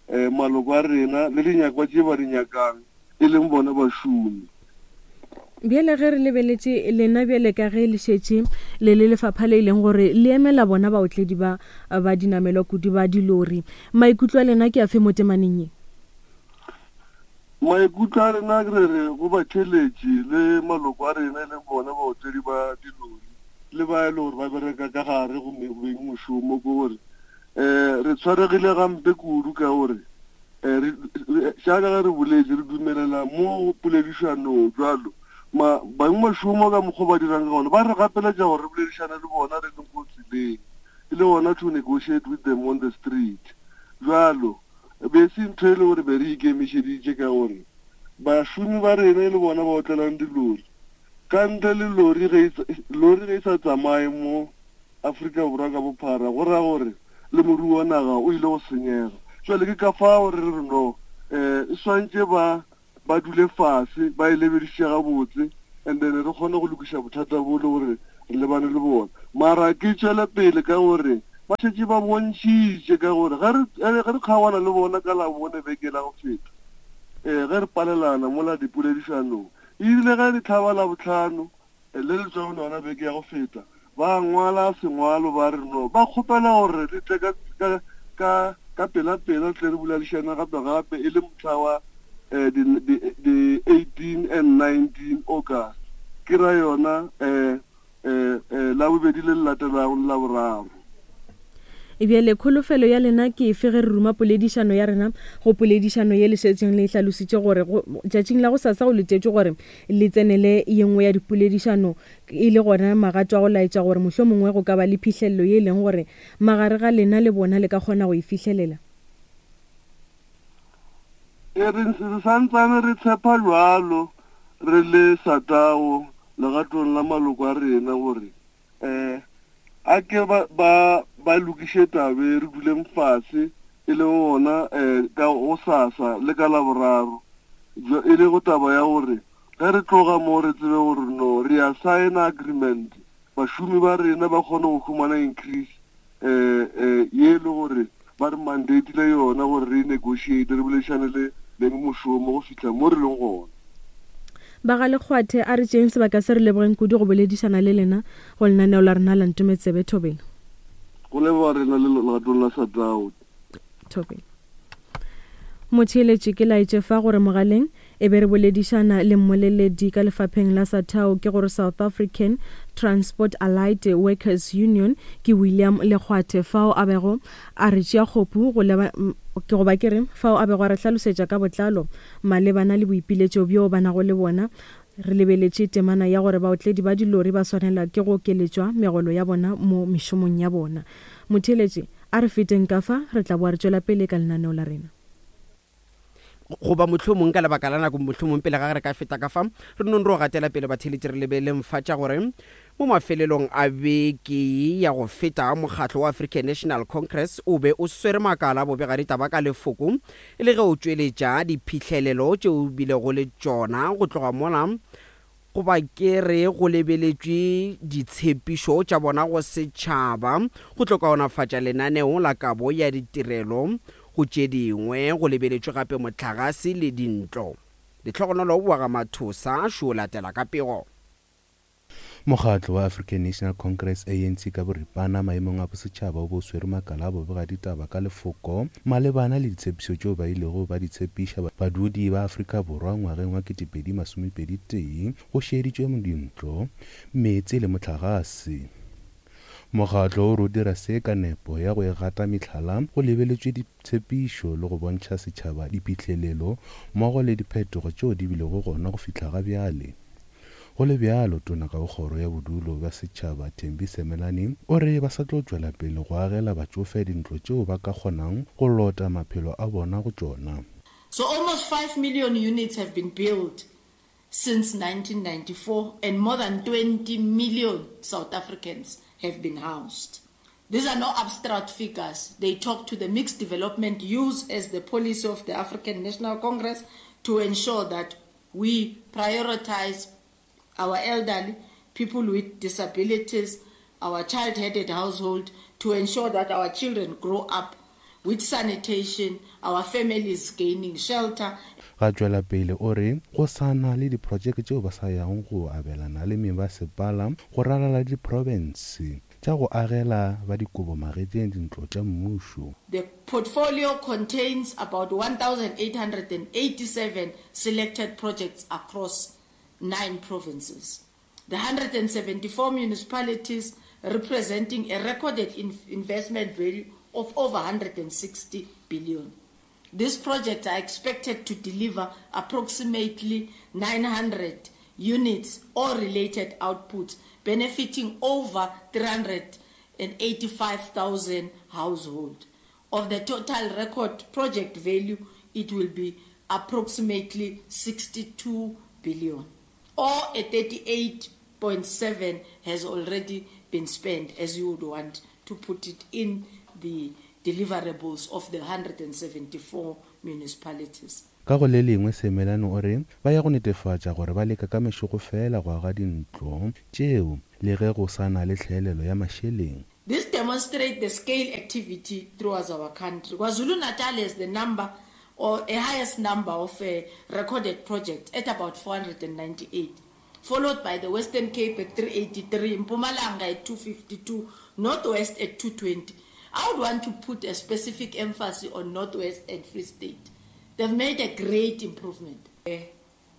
um maloko a rena le dinyakwa tše ba di nyakang, e leng bona bašomi. Bjale ge re lebeletše lena bjale ka ge le šetše le le lefapha le e leng gore le emela bona baotledi ba ba dinamelwa kudu ba dilori, maikutlo a lena ke afe mo temaneng ye? Maikutlo a rena re re go batheeletši le maloko a rena e leng bona baotledi ba dilori le ba e le gore ba bereka ka gare go beng mošomo ke gore um re tshwaregile gampe kudu ka gore um jaaka ge re boletše re dumelela mo poledišanong jwalo. Ma, bangmošomo ka mokgwa o ba dirang ka gona, ba re gapeletša gore re boledišane le bona re leng ko tseleng, e le gona to negotiate with them on the street. Bjalo, e be e se ntho e le gore be re ikemišeditše ka gore bašomi ba rena e le bona ba otlelang dilori. Ka ntle le lori ge e, lori ge e sa tsamaye mo Afrika Borwa ka bophara, go ra gore le moruo wa naga o ile go senyega. Jwale ke ka fao re re no, um e swantše ba ba dule fase ba e lebedišiše gabotse and then re kgone go lokiša bothata bo le gore re lebane le bona. Mara ke tšwele pele ka gore ba šetše ba bontšhitše ka gore ge re ge re kgaogana le bona ka Labone beke la go feta um ge re palelana mola dipoledišanong e rile ge re hlaba Labohlano Le le tšwago lona beke ya go feta, ba ngwala sengwalo ba re no ba kgopela gore re tle ka, ka, ka, ka pela-pela re tle re boladišane gape-gape e le mohla wa eh, di, di, di 18 and 19 August, ke ra yona eh, eh, eh, Labobedi le le latelago le Laboraro. Bjale, kholofelo ya lena ke efe ge re ruma poledišano ya rena go poledišano ye le šetšeng le e hlalositše gore go, tšatšing la gosasa go letetšwe gore le tsenele ye nngwe ya dipoledišano e le gona magato a go laetša gore mohlomongwe go ka ba le phihlelelo ye e leng gore magare ga lena le bona le ka kgona go e fihlelela? E re, re sa ntsane re tshepa bjalo re le Satao legatong la maloko a rena gore um a ke ba ba ba lokiše tabe re duleng fase e le gona um ka gosasa le ka laboraro e le go taba ya gore ge re tloga mo re tsebe gore no re ya signa agreement bašomi ba rena ba kgone go humana increase um um ye e le gore ba re mandatile yona gore re negotiate re boledišane le beng mošomo go fihla mo re leng gona. Ba ga Lekgwathe, a re tšeeng sebaka se re lebogeng kudu go boledišana le lena go lenaneo la rena la Ntometsebe Thobela. Go leboga rena le legatong la Satao. Thobela. Motheeletši ke laetše fa gore mogaleng E be re boledišana le mmoleledi ka lefapheng la Sathao ke gore South African Transport Allied Workers Union ke William Lekgwathe fao a bego a re tšea kgopu go leba ke goba ke re fao a bego a re hlalosetša ka botlalo malebana le boipiletšo bjo ba nago le bona re lebeletše temana ya gore baotledi ba dilori ba swanela ke go okeletšwa megolo ya bona mo mešomong ya bona. Motheeletši, a re feteng ka fa re tla boa re tšwela pele ka lenaneo la rena. Goba mohlomong ka lebaka la nako, mohlomong pele ga ge re ka feta ka fa, re nong ro gatela pele batheeletši re lebeleng fa tša gore mo mafelelong a beke ya go feta mokgatlo wa African National Congress o be o swere makala a bobegaditaba ka lefoko e le ge o tšweletša diphihlelelo tše o bilego le tšona go tloga mola Goba ke re go lebeletšwe ditshepišo tša bona go setšhaba go tlo kaonafatša lenaneo la kabo ya ditirelo go tše dingwe, go lebeletšwe gape mohlagase le dintlo. Lehlogonolo wa ga Mathosa šo latela ka pego. Mokgatlo wa African National Congress, ANC, ka boripana maemong a bosetšhaba o be o swere makala a bobegaditaba ka lefoko malebana le ditshepišo tšeo ba ilego ba di tshepiša badudi ba Afrika Borwa ngwageng wa 2021 go šeeditšwe dintlo, meetse le mohlagase. Mokgatlo o re o dira se ka nepo ya go e gata mehlala go lebeletšwe ditshepišo le go bontšha setšhaba diphihlelelo mmogo le diphetogo tšeo di bilego gona go fihla ga bjale. Go le bjalo, Tona ka go Kgoro ya Bodulo bja Setšhaba, Thembi Semelani, o re ba sa tlo tšwela pele go agela batšofe dintlo tšeo ba ka kgonang go lota maphelo a bona go tšona. So almost 5 million units have been built since 1994 and more than 20 million South Africans have been housed. These are no abstract figures. They talk to the mixed development used as the policy of the African National Congress to ensure that We prioritize our elderly, people with disabilities, our child-headed household to ensure that our children grow up with sanitation, our families gaining shelter. Ga tšwela pele o re go sa na le diprojeke tšeo ba sa yago go abelana le mebasepala go ralala diprofense tša go agela ba dikobo magetleng dintlo tša mmušo. The portfolio contains about 1,887 selected projects across nine provinces. The 174 municipalities representing a recorded investment value of over 160 billion. These projects are expected to deliver approximately 900 units or related outputs, benefiting over 385,000 households. Of the total record project value, it will be approximately 62 billion, or a 38.7 has already been spent, as you would want to put it in the deliverables of the 174 municipalities. Ka go le lengwe Semelane o re ba ya go netefatša gore ba leka ka mešego fela go aga dintlo tšeo le ge go sa na le tlhaelelo ya mašeleng. This demonstrates the scale activity throughout our country. KwaZulu-Natal has the number or a highest number of uh, recorded projects at about 498, followed by the Western Cape at 383, Mpumalanga at 252, Northwest at 220. I would want to put a specific emphasis on Northwest and Free State. They've made a great improvement. Uh,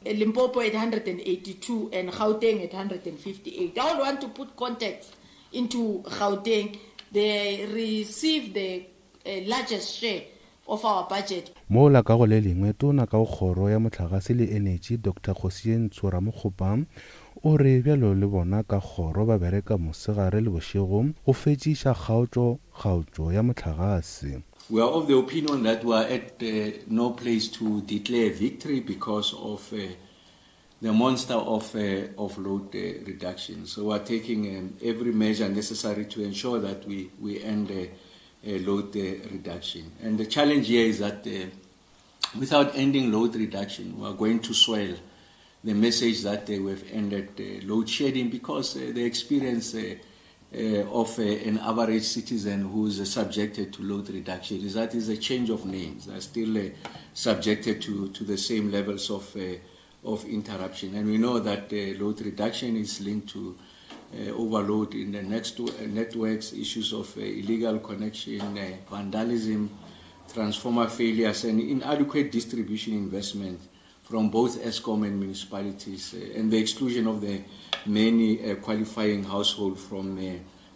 Limpopo at 182 and Gauteng at 158. I would want to put context into Gauteng. They receive the uh, largest share of our budget. Mola ka go le lengwe, Tona ka go Kgoro ya Mohlagase le Enetši, Doctor Kgosientsho Ramokgopa o re bjalo le bona ka kgoro ba bereka mosegare le bošego go fetšiša kgaotšo kgaotšo ya mohlagase. We are of the opinion that we are at uh, no place to declare victory because of uh, the monster of, uh, of load uh, reduction. So we are taking um, every measure necessary to ensure that we, we end uh, load uh, reduction. And the challenge here is that uh, without ending load reduction, we are going to swell the message that uh, we've ended uh, load shedding because uh, the experience uh, uh, of uh, an average citizen who is uh, subjected to load reduction is that is a change of names. They're still uh, subjected to, to the same levels of, uh, of interruption. And we know that uh, load reduction is linked to uh, overload in the next uh, networks, issues of uh, illegal connection, uh, vandalism, transformer failures, and inadequate distribution investment from both Eskom and municipalities, uh, and the exclusion of the many uh, qualifying households from uh,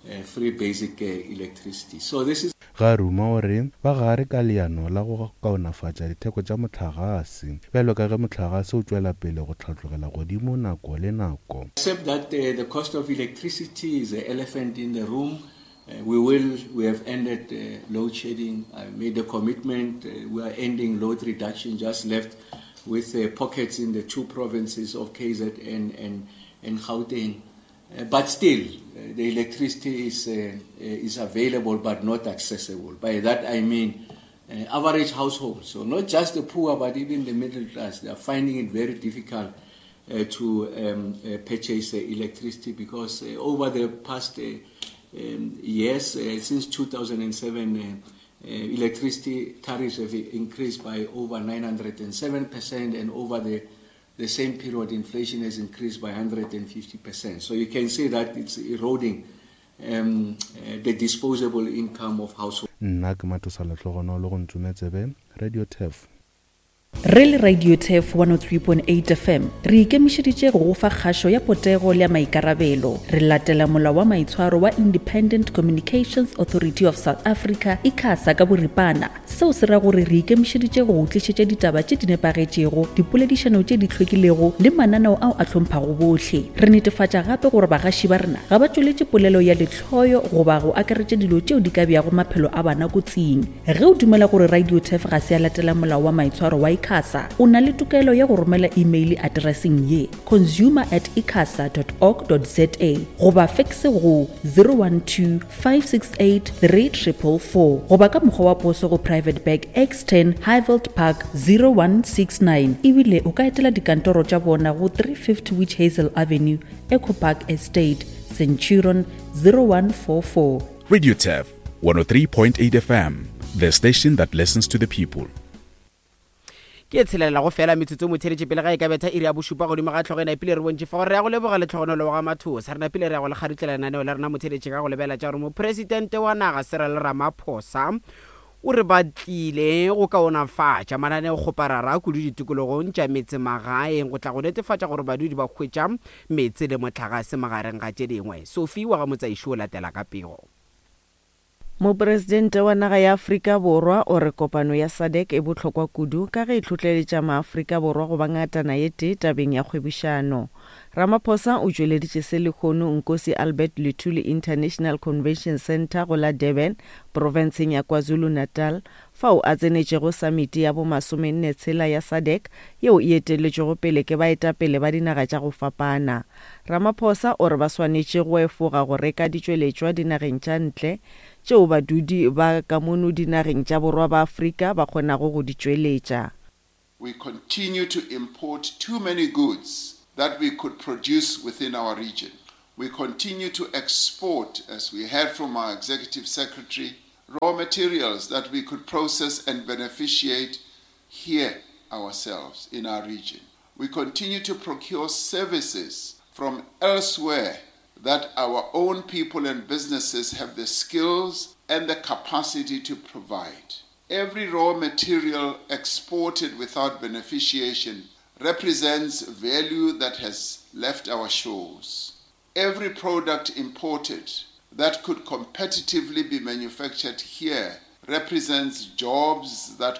uh, free basic uh, electricity. So this is Ga ruma o re ba gare ka leano la go kaonafatša ditheko tša mohlagase bjalo ka ge mohlagase o tšwela pele go hlatlogela godimo nako le nako. Except that uh, the cost of electricity is the elephant in the room. Uh, we will, we have ended uh, load shedding. I made a commitment. Uh, we are ending load reduction, just left with uh, pockets in the two provinces of KZN and, and Gauteng. Uh, but still, uh, the electricity is, uh, uh, is available but not accessible. By that I mean uh, average households, so not just the poor but even the middle class, they are finding it very difficult uh, to um, uh, purchase uh, electricity because uh, over the past uh, um, years, uh, since 2007, uh, uh, electricity tariffs have increased by over 907% and over the the same period inflation has increased by 150%. So you can see that it's eroding um, uh, the disposable income of households. Nna ke Matosa Lehlogonolo go Ntšometsebe, Radio Turf. Re le Radio Turf 103.8 FM, re ikemišeditše go go fa kgašo ya potego le ya maikarabelo. Re latela molao wa maitshwaro wa Independent Communications Authority of South Africa, ICASA, ka boripana. Seo se ra gore re ikemišeditše go go tlišetša ditaba tše di nepagetšego, dipoledišano tše di hlwekilego le mananeo ao a hlomphago bohle. Re netefatša gape gore bagaši ba rena ga ba tšweletše polelo ya lehloyo goba go akaretša dilo tšeo di ka beago maphelo a bana kotsing. Ge o dumela gore Radio Turf ga se ya latela molao wa maitshwaro wa ICASA, o na le tokelo ya go romela imeile atereseng ye, consumer at icasa dot org dot za goba fekse go 012 568 3444 goba ka mokgwa wa poso go Private Bag X10 Highveld Park 0169 ebile o ka etela dikantoro tša bona go 350 Witch Hazel Avenue, Echo Park Estate, Centurion 0144. Radio Turf 103.8 FM, the station that listens to the people. Ke e tshelela go fela metsotso motheletše pele ga e ka betha iri ya bošupa godimo ga hlogo e napile re bontše fa gore re ya go leboga letlhogonolo wa ga Mathosa. Re napile re ya go le kgarutlela lenaneo la rena motheletše ka go lebela tša gore mopresidente wa naga Cyril Ramaphosa o re ba tlile go kaonafatša mananeokgoparara kudu ditikologong tša metsemagaeng go tla go netefatša gore badudi ba hwetša meetse le mohlagase magareng ga tše dingwe. Sophie wa ga Motsaiši o latela ka pego. Mopresidente wa naga ya Afrika Borwa o re kopano ya SADC e bohlokwa kudu ka ge e hlohleletša maAfrika Borwa go ba ngatana ye tee tabeng ya kgwebišano. Ramaphosa o tšweleditše se lehono Nkosi Albert Luthuli International Convention Centre go la Durban, profenseng ya KwaZulu-Natal, fao a tsenetšego samiti ya bomasomenne tshela ya SADC yeo e eteletšwego pele ke baetapele ba dinaga tša go fapana. Ramaphosa o re ba swanetše go efoga go reka ditšweletšwa dinageng tša ntle tšeo badudi ba ka mono dinageng tša borwa ba Afrika ba kgonago go di tšweletša. We continue to import too many goods that we could produce within our region. We continue to export, as we heard from our Executive Secretary, raw materials that we could process and beneficiate here ourselves in our region. We continue to procure services from elsewhere that our own people and businesses have the skills and the capacity to provide. Every raw material exported without beneficiation represents value that has left our shores. Every product imported that could competitively be manufactured here represents jobs that